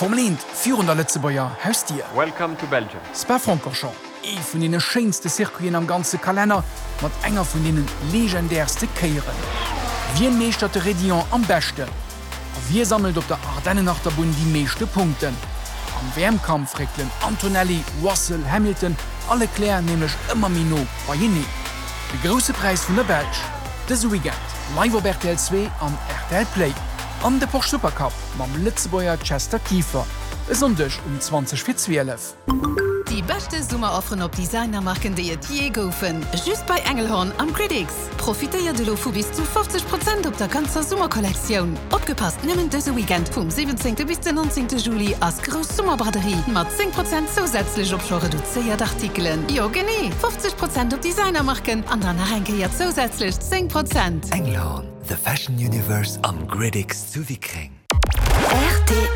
D'Formel 1 virun der Lëtzebuerger Hausdier. Welcome to Belgium. Spa-Francorchamps, ee vun deene schéinste Circuiten am ganze Kalenner, mat enger vun deene legendärste Kéieren. Wien meeschtert de Raidillon am beschten? A wie sammelt op der Ardennenachterbunn déi meeschte Punkten? Am WM-Kampf réckelen Antonelli, Russell, Hamilton a Leclerc nämlech ëmmer méi no beieneen. De Grousse Präis vun der Belsch dëse Weekend live op rtl 2 an rtl Play. An de Porsche Supercup mam Lëtzebuerger Chester Kieffer e Sonndeg um 20 fir 12. Déi beschte Summerofferen op Designermarken déi et jee goufen, just bei Engelhorn am Gridix! Profitéiert elo vu bis zu 50 Prozent op der ganzer Summerkollektioun! Opgepasst, nëmmen dëse Weekend vum 17 bis den 19 Juli ass grouss Summerbraderie mat 10 Prozent zousätzlech op scho reduzéiert Artikelen. Jo genee, 50 Prozent op Designermarken an dann nach eng Kéier zousätzlech 10 Prozent! Engelhorn, the fashion universe am Gridix zu Wickreng. Rtl.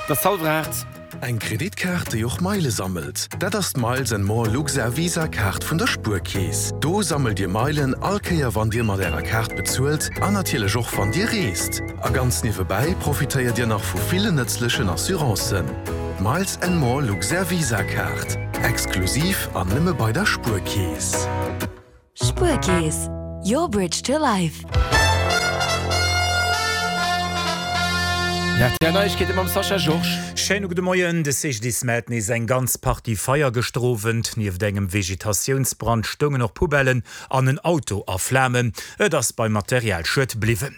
Et ass hallwer 8. Eng Kreditkaart, déi och Meile sammelt, dat ass d'Miles and More Luxair Visa Kaart vun der Spuerkeess. Do sammelt Dir Meilen all Kéier wann Dir mat Ärer Kaart bezuelt an natierlech och wann Dir reest. A ganz niewebäi profitéiert Dir nach vu villen nëtzlechen Assurancen. D'Miles and More Luxair Visa Kaart, exklusiv an nëmme bei der Spuerkeess. Spuerkeess, your bridge to life. Rtl Neiegkeete mam Sascha Georges. Schéine gudde Moien. De CGDIS mellt nees eng ganz Partie Feier gëschter Owend. Nieft engem Vegetatiounsbrand stoungen och Poubellen an en Auto a Flamen. Et ass beim Materialschued bliwwen.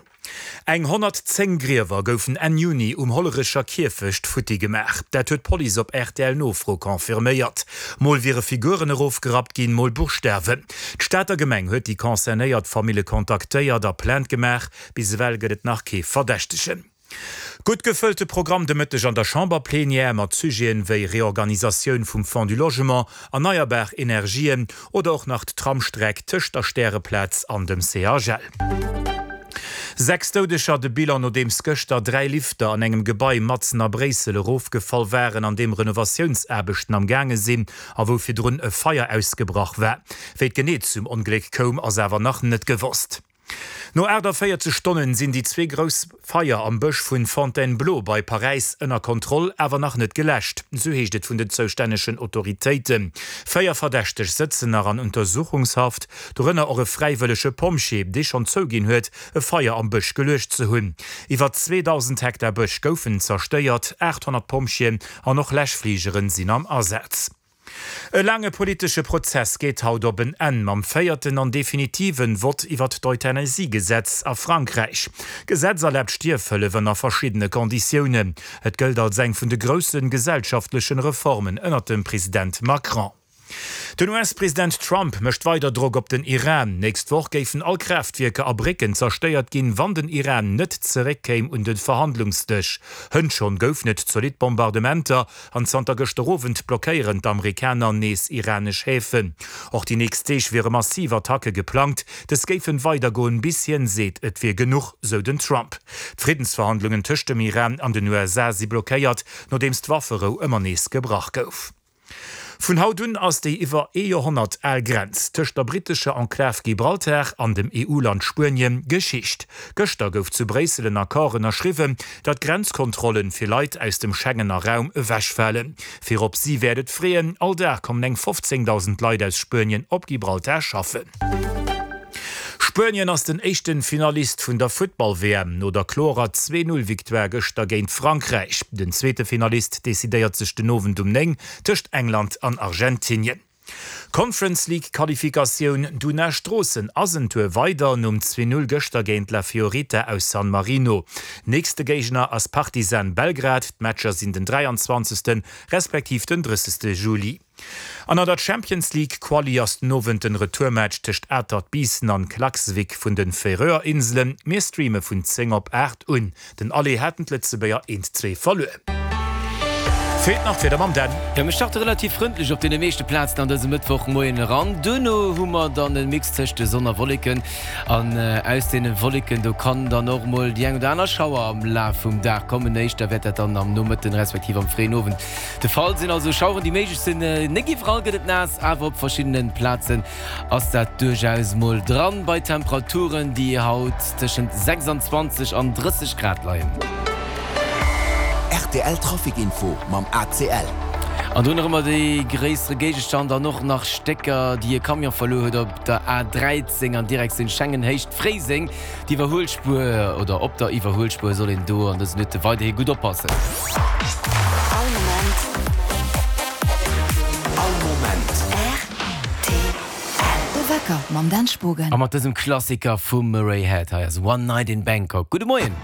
Eng 110 Griewer goufen Enn Juni um Hollerecher Kierfecht futti gemaach. Dat huet d'Police op RTL-Nofro confirméiert. Mol wiere Figuren erofgerappt ginn, mol Buschtawen. D'Stater Gemeng huet déi concernéiert Famille kontaktéiert a Plainte gemaach. Bis ewell gëtt et nach kee Verdächtegen. Gutt gefëllte Programm de Mëtteg an der Chamberplenière mat Sujeten wéi Reorganisatioun vum Fonds du Logement, erneierbar Energien oder och nach d'Tramstreck tëscht der Stäreplaz an dem CHL. 6 Doudeger, de Bilan nodeems gëschter 3 Lifter an engem Gebai matzen a Bréissel erofgefall waren, an deem Renovatiounsaarbechten am gaange sinn a wou virdrun e Feier ausgebrach war. Wéi et genee zum Ongléck koum, ass awer nach net gewosst. No 48 Stonnen sinn déi zwee grouss Feier am Bësch vun Fontainebleau bei Paräis ënner Kontroll, awer nach net geläscht, sou heescht et vun den zoustännegen Autoritéiten. Véier Verdächteg sëtzen nach an Untersuchungshaft, dorënner och e fräiwëllege Pompjee, dee schonn zouginn huet, e Feier am Bësch geluecht ze hunn. Iwwer 2.000 Hektar Bësch goufen zerstéiert, 800 Pompjeeën an och Läschfligeren sinn am Asaz. E laange politesche Prozess geet haut op en Enn mam véierten an definitiven Vott iwwert d'Euthanasie-Gesetz a Frankräich. D'Gesetz erlaabt Stierfhëllef ënner verschiddene Konditiounen. Et gëllt als eng vun de grousse gesellschaftlechen Reformen ënnert dem President Macron. Den US-President Trump mécht weider Drock op den Iran. Nächst Woch géifen all Kraaftwierker a Brécken zerstéiert ginn, wann den Iran net zeréckkéim un de Verhandlungsdësch. Hënt schonn goufen et zolidd Bombardementer An zanter gëschter Owend blockéieren d'Amerikaner nees iranesch Häfen. Och déi nächst Deeg wiere massiv Attacke geplangt. Dës géifen weidergoen, bis hien seet, et wier genuch, sou den Trump. D'Friddensverhandlungen tëscht dem Iran an den USA si blockéiert, nodeems d'Wafferou ëmmer nees gebrach gouf. Vun haut un ass déi iwwer ee Joerhonnert al Grenz tëscht der brittescher Enklav Gibraltar an dem EU-Land Spuenien Geschicht. Gëschter gouf zu Bréissel en Accord ënnerschriwwen, datt Grenzkontrollen fir Leit aus dem Schengener Raum ewechfalen. Virop si wäert et freeën, all Dag kommen eng 15.000 Leit aus Spuenien op Gibraltar schaffen. Spuenien ass den éischten Finalist vun der Futtball-WM no der klorer 2, 0 Victoire gëschter géint Frankräich. Den zweete Finalist decidéiert sech den Owend um 9 tëscht England an Argentinien. Conference League Qualifikatioun, Duna Stroossen ass en Tour weider nom 2, 0 gëschter géint La Fiorita aus San Marino. Nächste Géigner ass Partizan Belgrad, d'Matcher sinn den 23. Respektiv den 30. Juli. An an der Champions League Quali ass den Owend den Retourmatch tëscht Atert Biissen an Klaksvik vun den Färöer Inselen. Mir streame vun 10 op 8 un. Den Aller haten d'Lëtzebuerger 1, 2 verluer. Feelt nach d'Wieder mam Dan. Jo, mir starte relativ frëndlech op deene meeschte Plazen an dësem Mëttwochmoien eran. Duerno hu mer dann e Mix tëscht Sonn a Wolleken an aus deene Wolleken do kann dann och mol déi eng oder aner Schauer am Laf vum Dag kommen. Éischter wäert dat dann am Nomëtten respektiv am fréien Owend de Fall sinn. Also Schaueren, déi méiglech sinn. Net iwwerall gëtt et naass, awer op verschiddene Plazen ass dat duerchaus mol dran bei Temperaturen, déi haut tëschent 26 an 30 Grad leien. Rtl Trafic Info mam ACL. An do nach ëmmer dee gréissere Géigestand an och nach Stécker, déi e Camion verluer huet op der A13 an Direktioun Schengen, Héicht Fréiseng. D'Iwwerhuelspuer oder op der Iwwerhuelspuer soll een do an dëse Minutte weiderhi gutt oppassen. All Moment. All Moment. Rtl. De Wecker mam Dan Spogen. A mat dësem Klassiker vum Murray Head, hei ass One Night in Bangkok. Gudde Moien.